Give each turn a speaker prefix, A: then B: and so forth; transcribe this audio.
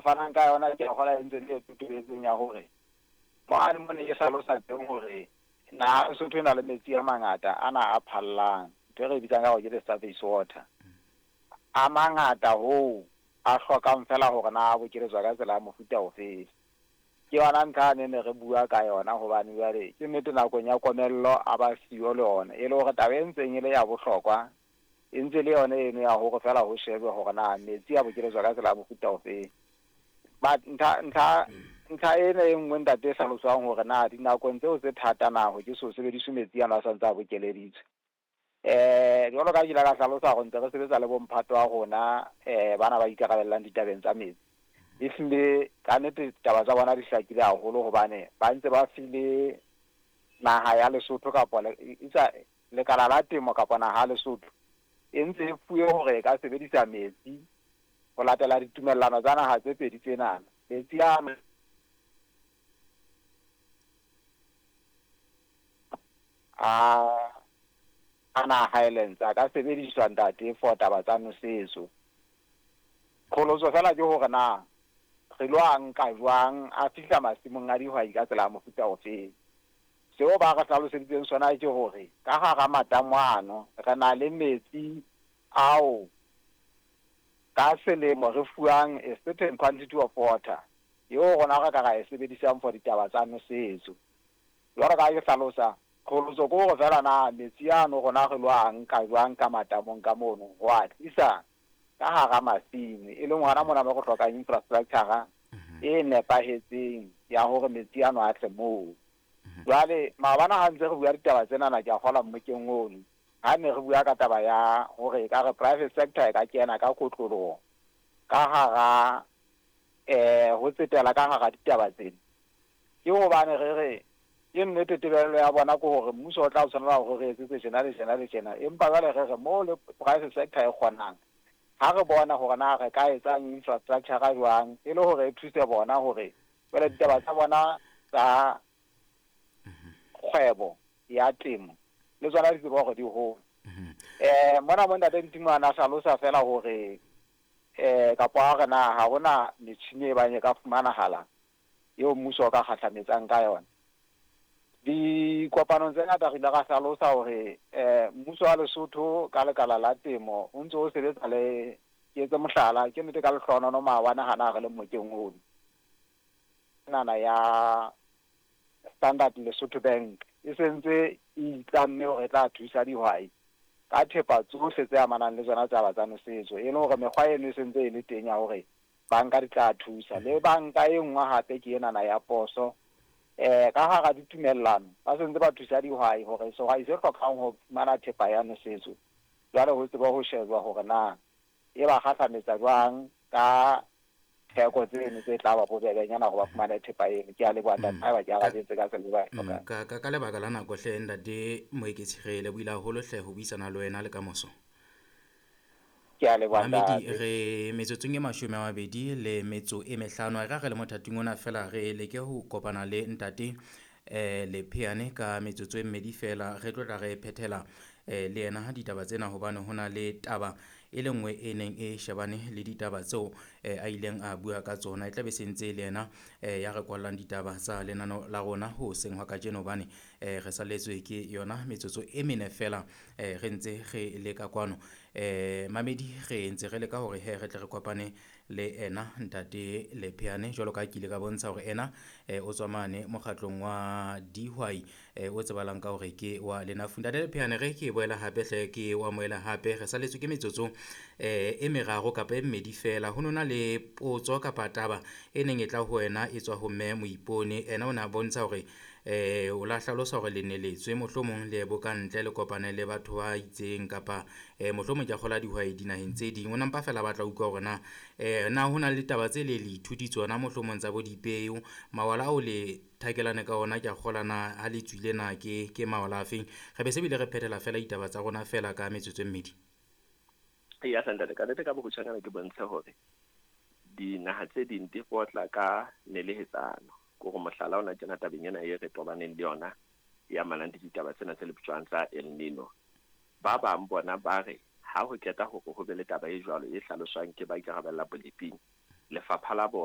A: fanang ka yona ke a kgolwa e ntse le e totobetseng ya hore mane mo ne ke hlalosa teng hore naha Lesotho e na le metsi a mangata ana a phallang, ntho e re e bitsang ka hore ke the surface water. A mangata hoo a hlokang feela hore na a bokeletswa ka tsela ya mofuta ofe. Ke yona ntlha yane ne re bua ka yona hobane jwale ke nnete nakong ya komello a ba siyo le ona, e le hore taba e ntseng e le ya bohlokwa e ntse le yona eno ya hore feela ho shejwe hore na metsi a bokeletswa ka tsela ya mofuta ofe. But ntlha ntlha ntlha ena e nngwe ntate e hlaloswang hore na dinakong tseo tse thata na ho ke so sebediswe metsi ano a santse a bokeleditswe. Jwalo ka ke ile ka hlalosa hore ntse re sebetsa le bomphato wa rona bana ba ikarabellang ditabeng tsa metsi. Ehlile ka nnete taba tsa bona di hlakile haholo hobane ba ntse ba file naha ya Lesotho kapa lekala la temo kapa naha ya Lesotho e ntse e fuwe hore e ka sebedisa metsi ho latela ditumellano tsa naha tse pedi tsenana. Metsi a a ana Highlands a ka sebediswa ntate for taba tsa nosetso. Qholotso fela ke hore na re lo a nka jwang a fihla masimong a dihwai ka tsela ya mofuta ofeng. Seo ba re hlaloseditseng sona ke hore ka hara matamo ano re na le metsi ao ka selemo re fuwang a certain quantity of water eo rona re ka ra e sebedisang for ditaba tsa nosetso. Jwalo ka ha ke hlalosa, qholotso ke hore feela na metsi ano rona re lo a nka jwang ka matamong ka mono ho a tlisa ka hara masimo, e leng hona mona mo re hlokang infrastructure e nepahetseng ya hore metsi ano a tle moo. Jwale maobane ha ntse re bua ditaba tsenana ke a kgolwa mmokeng ono, ha ne re bua ka taba ya hore ekare private sector e ka kena ka kotloloho ka hara ho tsetela ka hara ditaba tsena, ke hobane re re ke nnete tebello ya bona ke hore mmuso o tla tshwanela hore re etsetse tjena le tjena le tjena, empa jwale re re mo le private sector e kgonang, ha re bona hore na re ka etsang infrastructure jwang e le hore e thuse bona hore jwale ditaba tsa bona tsa kgwebo ya temo le tsona di tseba hore di hole. Mona mo ntate Ntimo a na hlalosa fela hore kapa a re na ha hona metjhini e bang e ka fumanahala eo mmuso o ka kgahlametsang ka yona. Dikopanong tse ngata re ile ra hlalosa hore mmuso wa Lesotho ka lekala la temo o ntse o sebetsa le, ke etse mohlala, ke nnete ka lehlohonono maobane hana re le mmokeng ono, nana ya Standard Lesotho Bank e sentse e itlamme hore e tla thusa dihwai ka thepa tsohle tse amanang le tsona taba tsa nosetso, e leng hore mekgwa eno e sentse e le teng ya hore banka di tla thusa. Le banka e nngwe hape ke enana ya poso, ka hara ditumellano ba sentse ba thusa dihwai hore sehwai se hlokang ho fumana thepa ya nosetso jwale ho tsebe ho shejwa hore na e ba kgahlametsa jwang ka theko tseno tse tla ba bobebenyana hore ba fumane thepa eno. Ke a leboha ntate, haeba ke arabetse ka tsela e ba e hlokang.
B: Ka lebaka la nako hle ntate Moeketsi, re lebohile haholo hle ho buisana le wena le kamoso.
A: Ke a leboha
B: Mamedi,
A: ntate.
B: re metsotsong e 25, e ra re le mothating ona fela re leke ho kopana le ntate Lepheane ka metsotso e mmedi fela, re tlo tla re phethela le yena ditaba tsena hobane ho na le taba e le nngwe e neng e shebane le ditaba tseo a ileng a bua ka tsona. E tla be se ntse le yena ya re kwallang ditaba tsa lenano la rona ho seng hwa kajeno hobane re salletswe ke yona metsotso e mene fela re ntse re leka kwano. Mamedi, re ntse re leka hore he re tle re kopane le ena ntate Lepheane jwalo ka ha ke ile ka bontsha hore ena o tswa mane mokgatlong wa dihwai o tsebahalang ka hore ke wa Lenafu. Ntate Lepheane, re ke boela hape hle ke o amohela hape, re salletswe ke metsotso e meraro kapa e mmedi fela. Ho nona le potso kapa taba e neng e tla ho wena e tswa ho mme Moipone. Ena o ne a bontsha hore o la hlalosa hore le ne letswe mohlomong le bo ka ntle le kopane le batho ba itseng kapa mohlomong ke a kgola dihwai dinaheng tse ding. O nampa fela batla utlwa hore na na ho na le ditaba tse le le ithuti tsona mohlomong tsa bo dipeo, mawala ao le thakelane ka ona ke a kgola na ha le tswile na ke mawala a feng. Re be se bile re phethela fela ditaba tsa rona fela ka metsotso e mmedi.
C: Ya ntate, ka nnete ka bokgutshwanyane ke bontshe hore dinaha tse ding di potla ka nelehetsano. Ke hore mohlala ona tjena tabeng ena e re tobaneng le yona e amanang le ditaba tsena tse le bitswang tsa El Nino. Ba bang bona ba re ha ho qeta hore ho be le taba e jwalo e hlaloswang ke ba ikarabella boleping, lefapha la bona